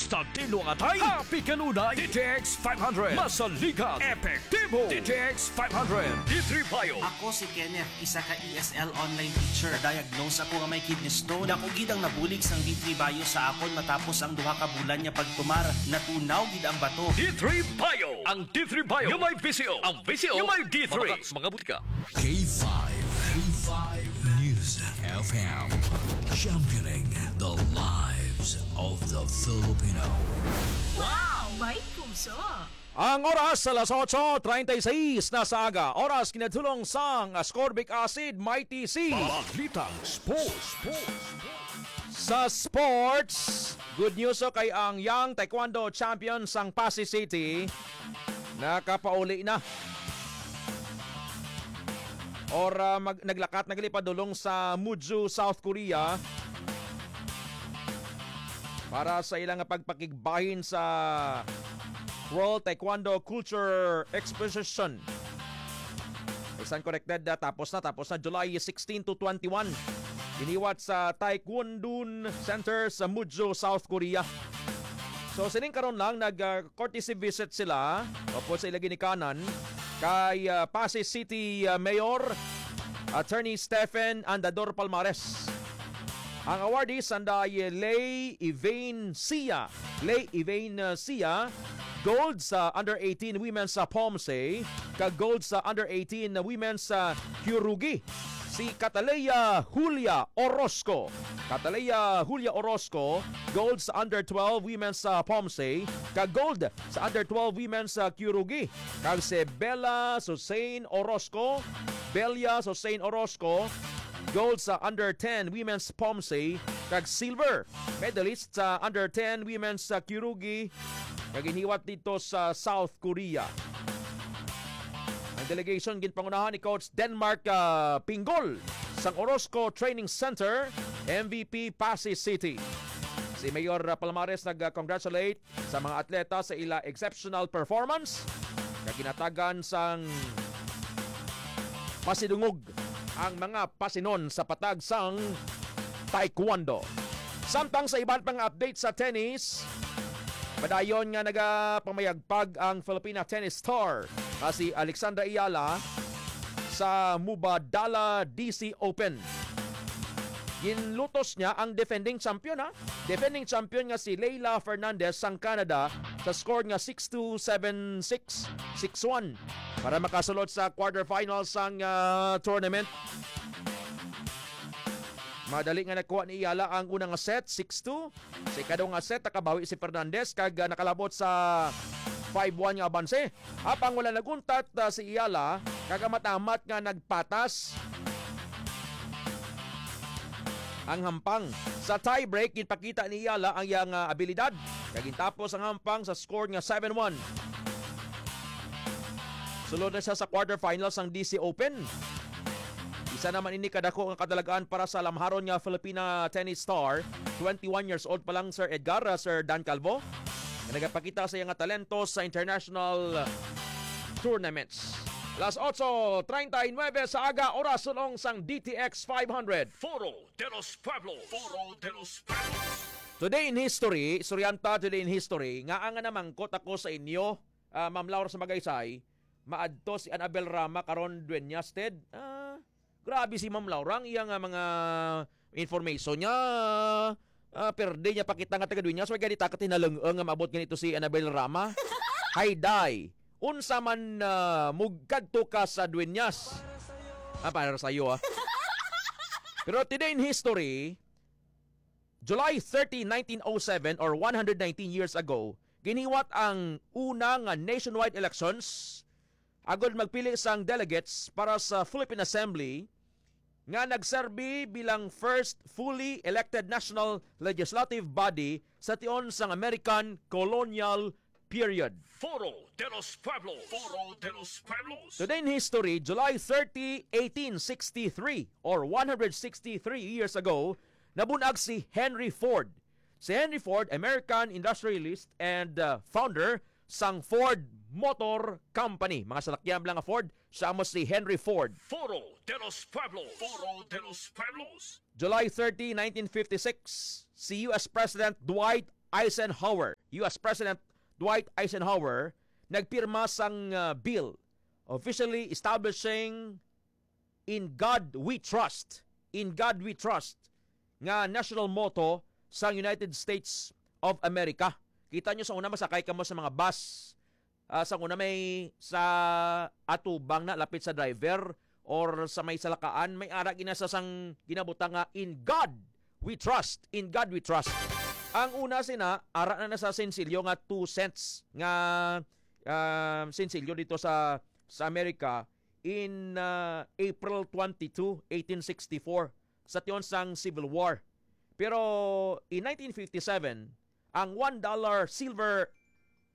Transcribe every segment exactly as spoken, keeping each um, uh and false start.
Tagtilo nga time, happy kanunay. D T X five hundred. Masaligan. Epektibo. D T X five hundred. D three Bio. Ako si Kenneth, isa ka E S L online teacher. Diagnose ako nga may kidney stone. Dako gid ang nabulig sang D three Bio sa akon matapos ang duha ka bulan nga pagtumar. Natunaw gid ang bato. D three Bio. Ang D three Bio nga may visyo. Ang visyo nga may D three. Mabakak sa mga butika. K five, K five News F M, championing the lives of the Filipino. Wow! May puso! Ang oras sa alas otso treinta y seis na sa aga. Oras kinatulong sang ascorbic acid, Mighty C. Balitang sports. Sa sports, good news, okay, ang young taekwondo champion sang Passi City nakapauli na. Or, ah, mag-, naglakat na gali padulong sa Muju, South Korea para sa ilang pagpakigbahin sa World Taekwondo Culture Exposition. Bisan corrected, ah, tapos na, tapos na July sixteen to twenty-one. Giniwat sa Taekwondon Center sa Muju, South Korea. So, sining karon lang nag, ah, courtesy visit sila upod sa ila ginikanan kay, ah, Passi City, ah, Mayor Attorney Stephen Andador Palmares. Ang awardees anday Lay Evane Sia, Lay Evane, ah, Sia, gold sa under eighteen women's sa Pomse, kag gold sa under eighteen women's sa Kyorugi, si Cataleya Julia Orozco. Cataleya Julia Orozco, gold sa under twelve women's sa Pomse, kag gold sa under twelve women's sa Kyorugi, kag si Bella Susain Orozco, Belia Susain Orozco, gold sa under ten women's Pomse, kag silver medalist sa under ten women's sa Kyorugi, nga ginhiwat dito sa South Korea. Ang delegation ginpangunahan ni Coach Denmark, ah, Pinggol sang Orozco Training Center, M V P Passi City. Si Mayor, ah, Palmares nag-congratulate sa mga atleta sa ila exceptional performance nga ginatagan sang pasidungog ang mga pasinon sa patag sang taekwondo. Samtang sa iban pang update sa tennis, padayon nga nagapamayagpag ang Filipina tennis star nga si Alexandra Ayala sa Mubadala D C Open. Ginlutos niya ang defending champion, ha? Defending champion nga si Leylah Fernandez sang Canada sa score nga six two, seven six, six one para makasulod sa quarterfinals sang, ah, tournament. Madali nga nakuha ni Ayala ang una nga set, six two. Sa ikaduha nga set, nakabawi si Fernandez kag, ah, nakalabot sa five one nga abanse. Apang wala naguntat, ah, si Ayala, kag amat-amat nga nagpatas ang hampang. Sa tiebreak, ginpakita ni Ayala ang iyang, ah, abilidad, kag gintapos ang hampang sa score nga seven one. Sulod na siya sa quarterfinals sang D C Open. Isa naman ini kadako nga kadalagan para sa lamharon nga Filipina tennis star, twenty-one years old pa lang, Sir Edgar, ah, Sir Dan Calvo, nga nagapakita sa iya nga talento sa international tournaments. Las otso treinta y nueve sa aga, oras sulong sang D T X five hundred. Foro de los Pueblos. Foro de los Pueblos. Today in history, Suryanta, today in history, nga ang namangkot ako sa inyo, ah, Ma'am Laura sa Magaysay, maadto si Annabel Rama karon, Dueñas, Ted. Ah, grabe si Ma'am Laura, ang iya nga mga information niya. Ah, perde niya pakita nga taga Dueñas, way gani ta katinalung nga maabot ganito si Annabel Rama. Hi, Day. Unsa man, ah, mugkadto ka sa Dueñas? Ah, para sa iyo, ah. Pero today in history, July thirty, nineteen oh seven, or one hundred nineteen years ago, ginhiwat ang una nga nationwide elections agud magpili sang delegates para sa Philippine Assembly, nga nagserbi bilang first fully elected national legislative body sa tion sang American colonial period. Foro de los Pueblos. Foro de los Pueblos. Today in history, July thirty, eighteen sixty-three, or one hundred sixty-three years ago, nabunag si Henry Ford. Si Henry Ford, American industrialist and, uh, founder sang Ford Motor Company. Mga salakyan lang nga Ford, siya mo si Henry Ford. Foro de los Pueblos. Foro de los Pueblos. July thirty, nineteen fifty-six, si U S President Dwight Eisenhower U S President Dwight Eisenhower nagpirma sang, ah, bill officially establishing "In God We Trust." "In God We Trust" nga national motto sa United States of America. Kita nyo, sa una masakay kamo sa mga bus, ah, sa una may sa atubang na lapit sa driver or sa may salakaan, may ara gina sa sang ginabutang nga, "In God We Trust, in God We Trust." Ang una sina, ara na na sa sensilyo nga two cents nga, ah, sensilyo dito sa, sa Amerika in, ah, April twenty-two, eighteen sixty-four, sa tion sang Civil War. Pero in nineteen fifty-seven, ang one dollar silver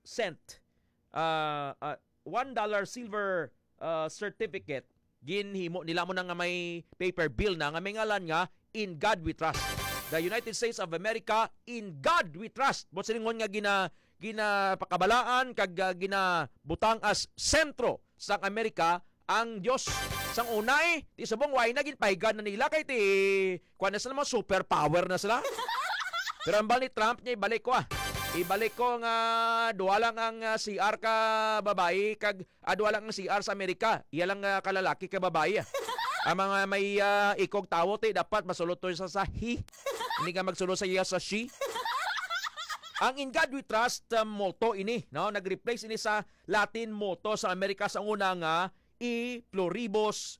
cent, ah, ah, one dollar silver, ah, certificate, ginhimo nila mo na nga may paper bill na nga may ngalan nga "In God We Trust." The United States of America, "In God We Trust." Mo silingon nga gina-, ginapakabalaan kag, ah, ginabutang as sentro sang Amerika ang Dios. Sang una, eh, ti subong why na ginpahigan na nila kay ti kuan na sila, mga superpower na sila. Pero ang bal ni Trump niya, ibalik ko, ah. Ibalik ko nga duha lang ang, ah, C R ka babayi kag, ah, duha lang ang C R sa Amerika. Iya lang, ah, kalalaki ka babayi, ah. Ang mga may, ah, ikog tawo, ti, dapat masulod to sa, sa he. Hindi ka magsulod sa iya sa she. Ang "In God We Trust," ah, motto ini, no? Nag-replace ini sa Latin motto sa Amerika sa una nga "E pluribus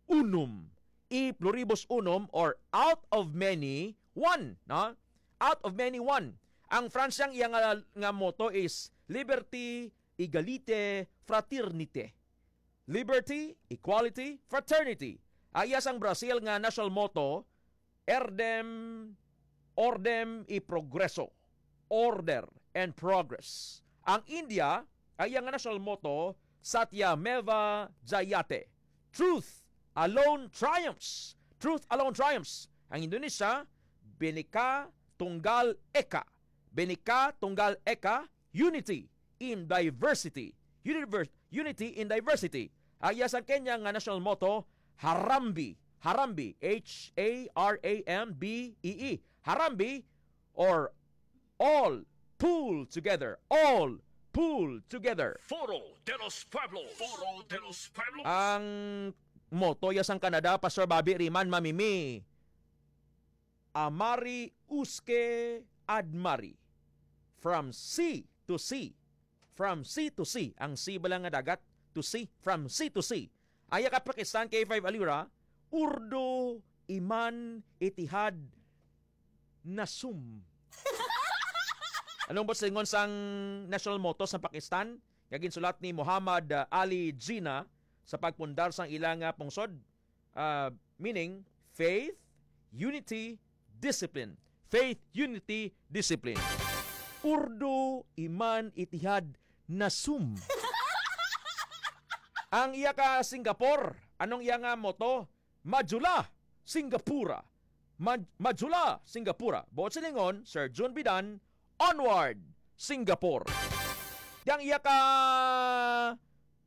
unum." "E pluribus unum," or "Out of many, one," no? "Out of many, one." Ang French, ang iya nga, nga motto is "Liberté, égalité, fraternité." Liberty, equality, fraternity. Ang iya sang Brazil nga national motto, "Erdem, ordem e progreso." Order and progress. Ang India, ang iya nga national motto, "Satyameva Jayate." "Truth alone triumphs." "Truth alone triumphs." Ang Indonesia, "Bhinneka Tunggal Eka." "Bhinneka Tunggal Eka, unity in diversity." Univer-, unity in diversity. Ang iya sang Kenya nga national motto, "Harambee." Harambee, H A R A M B E E. Harambee, or "All pull together." "All pull together." Foro de los Pueblos. Foro de los Pueblos. Ang motto ya sang Canada, Pastor Bobby Riman, mamimi, "Amari usque ad mari." From sea to sea. From sea to sea. Ang sea bala nga dagat, to sea. From sea to sea. Ang iya ka Pakistan, K five Alira, "Urdu iman itihad nasum." Anong buot silingon sang national motto sa Pakistan nga ginsulat ni Muhammad, uh, Ali Jinnah sa pagpundar sang ila nga pungsod? Uh, meaning, faith, unity, discipline. Faith, unity, discipline. "Urdu iman itihad nasum." Ang iya ka Singapore, anong iya nga motto? "Majulah Singapura." Ma-, "Majulah Singapura." Buot silingon, Sir Jun Bidan, "Onward Singapore." Yang iya ka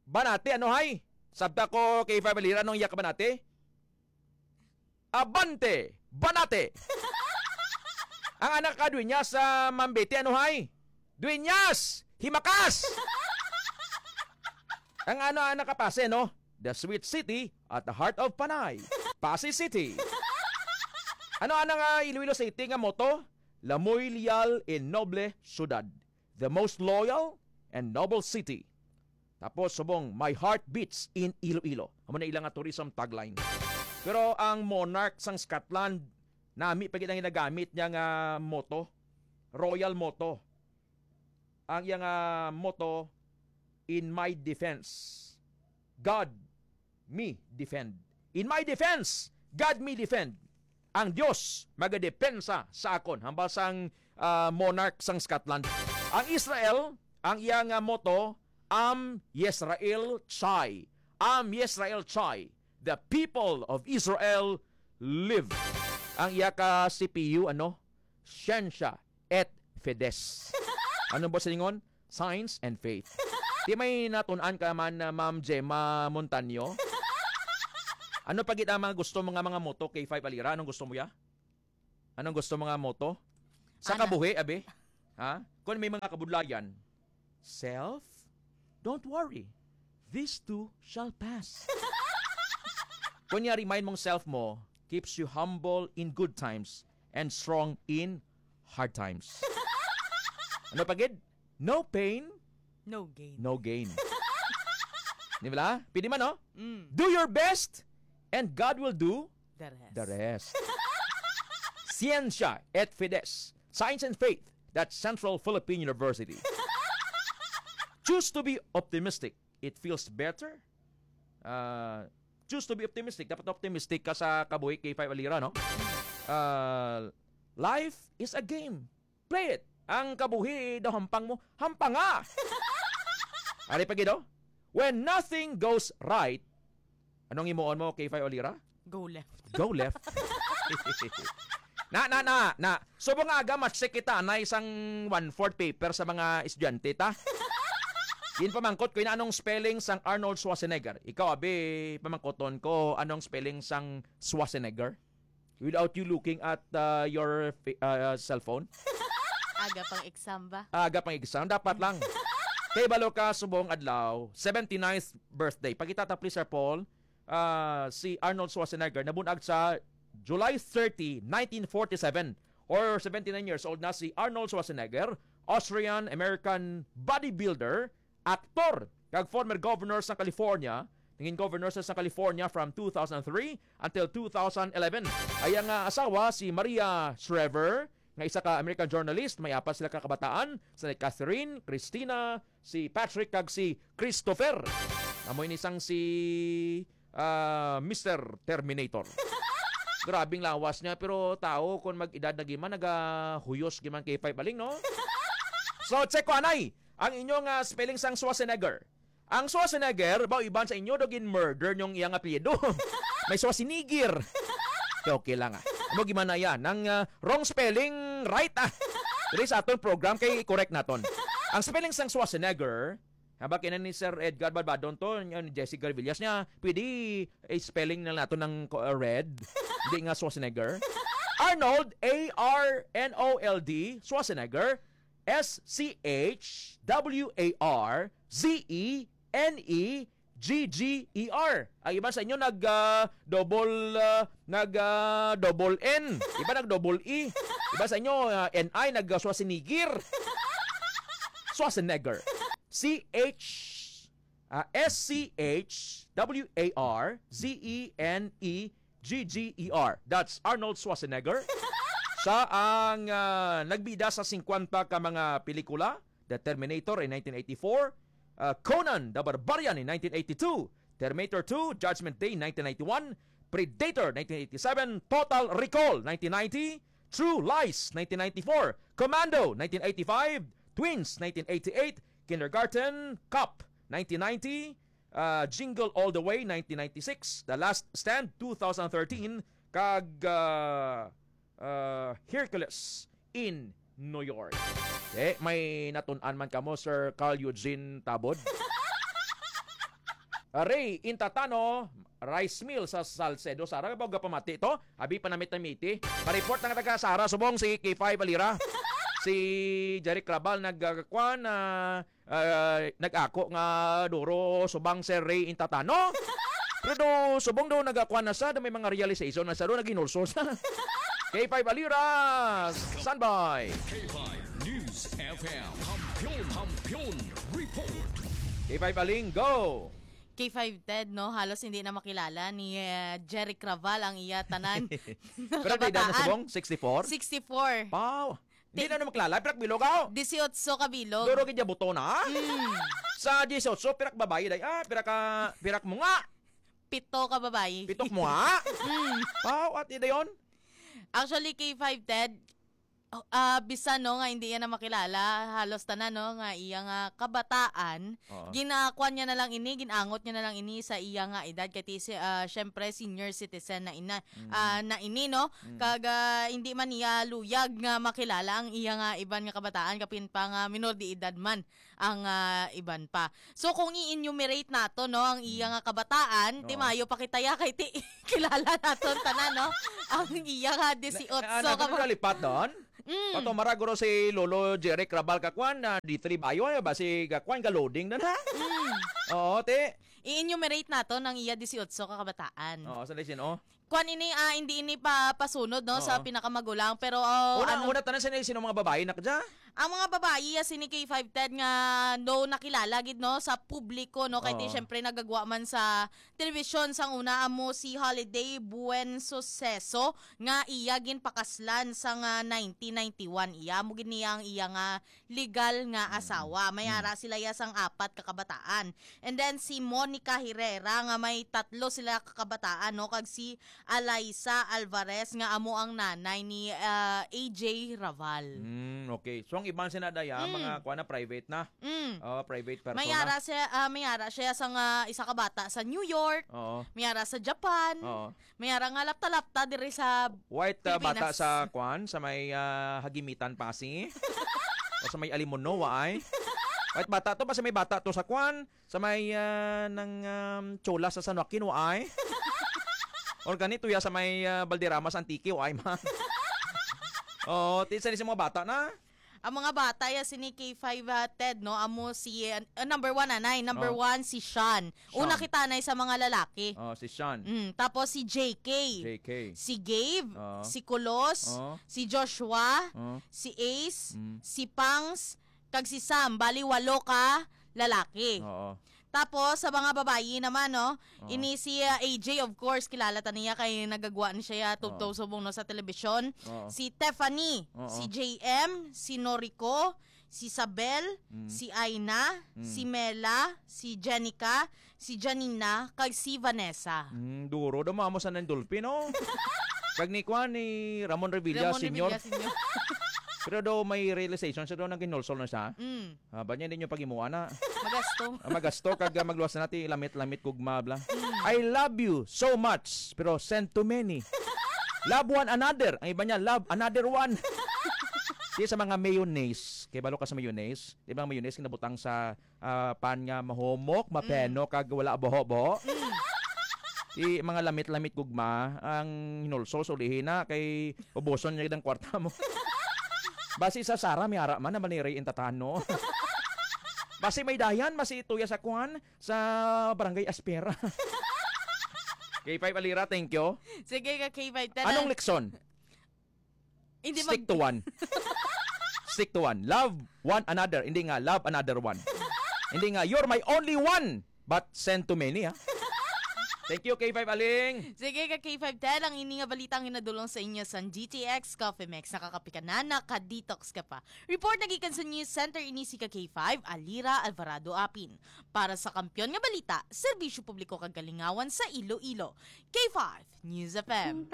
banati, ano hay? Sabta ko kay family, anong iya ka banati? "Abante, banate!" Ang anak ka, Dueñas, sa Mambete, ano hay? "Dueñas, himakas!" Ang ano, anak ka, Pase, no? "The sweet city at the heart of Panay, Pase City." Ano, ano nga Iloilo City nga motto? "La muy leal y noble ciudad." "The most loyal and noble city." Tapos subong, "My heart beats in Iloilo." Amo na ilang nga tourism tagline. Pero ang monarch sang Scotland, nami pa gid ang ginagamit niya nga motto, royal motto. Ang iya nga motto, "In my defense, God me defend." "In my defense, God me defend." Ang Dios magadepensa sa akon, hambal sang, ah, monarch sang Scotland. Ang Israel, ang iya nga motto, "Am Yisrael Chai." "Am Yisrael Chai." "The people of Israel live." Ang iya ka C P U, ano? "Scientia et Fides." Ano ba silingon? "Science and faith." Di may natun-an ka man, uh, Ma'am Gemma Montaño? Ano pa gid ang mga gusto mo nga mga motto, K five Alira? Anong gusto mo ya? Anong gusto mo nga motto? Sa Ana. Kabuhi, abi? Ha? Kung may mga kabudlayan, self, don't worry. This too shall pass. Kunya, remind mong self mo, keeps you humble in good times and strong in hard times. Ano pa gid? No pain, No gain. no gain. Di ba? Pwede man, no? Mm. Do your best and God will do The rest. the rest. Ciencia et Fides, Science and Faith, that's Central Philippine University. Choose to be optimistic. It feels better. Uh, choose to be optimistic. Dapat optimistic ka sa kabuhi, K five Alira, no? Uh, life is a game. Play it. Ang kabuhi daw hampang mo, hampanga! Ari pa gid, oh. When nothing goes right, anong himuon mo, K five Alira? Go left. Go left. Na, na, na, na. Subong nga aga, ma-check kita na isang one-fourth paper sa mga estudyante, ta? Ginpamangkot ko, ina, anong spelling sang Arnold Schwarzenegger? Ikaw, abi, pamangkoton ko, anong spelling sang Schwarzenegger? Without you looking at, uh, your fa-, uh, cellphone? Aga pang exam ba? Aga pang exam, dapat lang. Kay balo ka, subong adlaw, seventy-ninth birthday. Pakita ta, please, Sir Paul. Ah, si Arnold Schwarzenegger nabunag sa July thirty, nineteen forty-seven, or seventy-nine years old na si Arnold Schwarzenegger, Austrian-American bodybuilder, aktor, kag former governor sa California. Nangin governor sa, sa California from two thousand three until two thousand eleven. Ang iyang, ah, asawa si Maria Shriver, nga isa ka American journalist. May apat sila ka kabataan, sila Catherine, Christina, si Patrick, kag si Christopher. Amo ini sang si, ah, Mister Terminator. Grabing lawas niya, pero tao, kung mag-edad na giman, nagahuyos giman, K five Aling, no? So, check ko, anay, ang inyong, ah, spelling sang Schwarzenegger. Ang Schwarzenegger, ba, iban sa inyo, daw gin-murder niyong iyang apelyido. May Schwarzenegger. Okay, okay lang, ah. Amo giman na yan. Ang, ah, wrong spelling, right, ah. Diri sa aton program, kay correct naton. Ang spelling sang Schwarzenegger, ha, ba, kina ni Sir Edgar Balbadon to, ni Jesse Garvillas niya, pwede i-spelling na nato ng ko-, uh, red, hindi nga Schwarzenegger. Arnold, A R N O L D, Schwarzenegger, S C H W A R Z E N E G G E R. Ang iban sa inyo nag, ah, double, ah, nag, ah, double N. Iba nag double E. Iba sa inyo, ah, N I, nag, ah, Schwarzenegger. Schwarzenegger. C H, ah, S C H W A R Z E N E G G E R. That's Arnold Schwarzenegger. Siya ang, ah, nagbida sa singkwenta ka mga pelikula. The Terminator in nineteen eighty-four, uh, Conan the Barbarian in nineteen eighty-two, Terminator two, Judgment Day nineteen ninety-one, Predator nineteen eighty-seven, Total Recall nineteen ninety, True Lies nineteen ninety-four, Commando nineteen eighty-five, Twins nineteen eighty-eight, Kindergarten Cop nineteen ninety, uh, Jingle All the Way nineteen ninety-six, The Last Stand two thousand thirteen, kag, uh, uh, Hercules in New York. Eh, may natun-an man kamo, Sir Carl Eugene Tabod? Ray Intatano, rice mill sa Salcedo. Sara ba gapamati to? Abi panamit-namiti. Pa-report na nga taga Sara, subong si K five Alira. Si Jeric Rabal nagkakwan, ah, ah, nag-ako nga duro subong si Ray Intatano. Pero do, subong do nagakwan na sa, do may mga realization na sa do, naghinulsol sa. K five Alira, standby. K five News F M, Kampiyon, Kampiyon Report. K five Aling, go! K five Ted, no? Halos hindi na makilala ni, eh, Jeric Raval ang iya tanan na Pero may edad na kabataan. Subong? Sixty-four? Sixty-four. Wow! Hindi Ti- na naman kilala, pirak bilog ako. Dieciocho ka bilog. Duro gid ya buto na. Mm. Sa dieciocho, pirak babayi, day. Ah, pirak ka, pirak mo nga. Pito ka babayi. Pitok mo nga. Mm. Wow, at dayon? Actually, K five Ted, oh, ah, bisan, no, nga hindi yan na makilala, halos tanan, no, nga iya nga kabataan, Oo. ginakuan niya na lang ini, ginangot niya na lang ini sa iya nga edad, kay ti-, si-, ah, syempre, senior citizen na ina, Mm. ah, na ini, no? Mm. Kag, ah, hindi man niya luyag nga makilala ang iya nga iban nga kabataan, kapin pa nga minor de edad man ang, ah, iban pa. So, kung i-enumerate nato, no, ang iya nga kabataan, ti Oo. mayo pa kita ya kay ti kilala naton tanan, no? Ang iya nga Na, dieciocho na, ka na, ba- nalipat doon? Mm. Pato maraguro si Lolo Jeric Rabal ka kwan, na D three bayo, ay, ba si ka kwan, ka loading na na? Mm. Oo, te. I-enumerate nato ng iya dieciocho ka kabataan. Oo, sa lisin, oh. Kwan ini, ah, hindi ini pa pasunod, no, sa Oo. pinakamagulang, pero, oh, Una, ano una tanan sino, sino mga babae na kadya? Ang mga babae, ah, sini K five Ted nga, no, nakilala gid, no, sa publiko, no, kay ti Oo. syempre nagagwa man sa telebisyon sang una amo si Holiday Buen Suceso nga iya ginpakaslan sang, ah, nineteen ninety-one. Iya mo gid niya ang iya nga legal nga Mm. asawa. May Mm. ara sila ya sang apat ka kabataan. And then si Monica Herrera nga may tatlo sila ka kabataan, no, kag si Alaisa Alvarez nga amo ang nanay ni, ah, A J Raval. Mm, okay. So ang iban sina daya, Mm. mga kuan na, private na. Mm. Oh, private persona. May ara siya, ah, may ara siya sa nga isa ka bata sa New York. Oo. May ara sa Japan. Oo. May ara nga lapta-lapta diri sa White, ah, bata Pilipinas. sa kuan, sa may, ah, Hagimitan, Pasi. O sa may Alimuno, wa ay. White bata to, basta may bata to sa kuan, sa may, ah, nang, um, Chola sa San Joaquin, wa ay. Or ganito ya sa may, ah, Valderrama sa Antique, wa ay man. Oo, ti-, sa, sa mga bata na. Ang mga bata ya sini K five, ah, Ted, no? Amo si, ah, number one, anay. Number Oh. one, si Sean. Una Sean. kita, anay, sa mga lalaki. Oh, si Sean. Mm, tapos si J K. J K. Si Gabe, Oh. si Kulos, Oh. si Joshua, Oh. si Ace, Mm. si Pangs, kag si Sam. Bali, walo ka lalaki. Oo. Tapos, sa mga babayi naman, no? Oo. Ini si, ah, A J, of course, kilala ta niya kay nagagwa ni siya Oo. tubtob subong, no, sa telebisyon. Oo. Si Tiffany, Oo. si J M, si Noriko, si Sabel, Mm. si Aina, Mm. si Mela, si Jenica, si Janina, kag si Vanessa. Mm, duro daw, mamo sa nang Dolphy, no? Kag ni kuan, ni Ramon Revilla Ramon Senior. Revilla Senior. Pero daw may realization siya daw nang ginulsol na siya. Mm. Ah, ba niya, hindi nyo pag-imuan na. Magasto. Ah, magasto, kag, ah, magluwas na ti lamit-lamit gugma, bla. Mm. "I love you so much, pero send too many. Love one another." Ang iba niya, "Love another one." Di sa mga mayonnaise. Kay balo ka sa mayonnaise? Di ba ang mayonnaise kinabutang sa, ah, pan nga mahumok, mapeno, Mm. kag wala buho-buho? Mm. Di mga lamit-lamit gugma, ang hinulsol, sulihi na, kay ubuson niya ang kwarta mo. Basi sa Sara, may ara man, na maniray intatano. Basi may dayan, basi tuya sa kuan, sa Barangay Aspera. K five Alira, thank you. Sige ka, K five. Tara. Anong leksyon? Hindi Stick mag- to one. Stick to one. Love one another. Hindi nga, love another one. Hindi nga, "You're my only one, but send too many," ha? Thank you, K five Aling. Sige ka, K five Ted. Ang ini nga balita ang ginadulong sa inyo sa G T X Coffee Mix. Nakakapi ka na, naka-detox ka pa. Report na gikan sa News Center, ini si ka K five, Alira Alvarado Apin. Para sa Kampiyon nga Balita, Serbisyo Publiko kag Kalingawan sa Iloilo. K five News F M.